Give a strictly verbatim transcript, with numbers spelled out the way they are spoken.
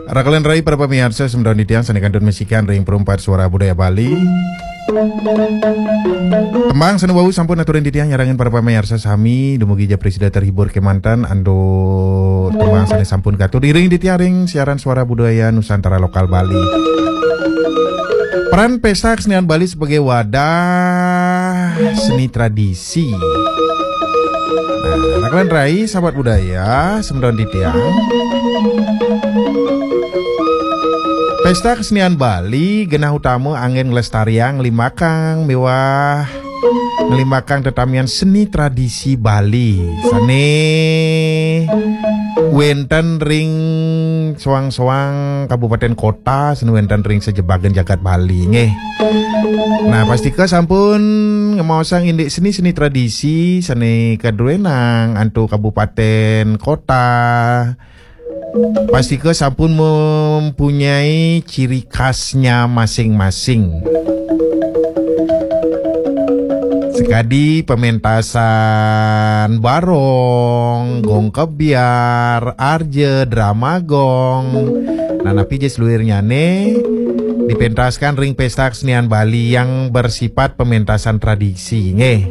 Rakelan rai para pamiarsa, semeton titiang sane kantun masikian ring Perumpat Suara Budaya Bali. Tembang sane wau sampun aturin titiang nyarengin para pamiarsa sami, dumugi ja prasida terhibur kemanten antuk tembang sane sampun katur iring titiang ring siaran Suara Budaya Nusantara Lokal Bali. Peran Pesta Kesenian Bali sebagai wadah seni tradisi. Nah, rakelan rai, sahabat budaya, semeton titiang. Pesta Kesenian Bali genah utama anggen nglestariang, nglimbakang miwah nglimbakang tetamian seni tradisi Bali sane wenten ring soang-soang kabupaten kota, sane wenten ring sajebagan jagat Bali nggih. Nah, pastika sampun ngemaosang indik seni-seni tradisi sane kadruenang antuk kabupaten kota. Pastika sampun mempunyai ciri khasnya masing-masing. Sekadi pementasan barong, gong kebyar, arja, drama gong. Nah, napi ja saluirnyane dipentaskan ring Pesta Kesenian Bali yang bersifat pementasan tradisi, nggih.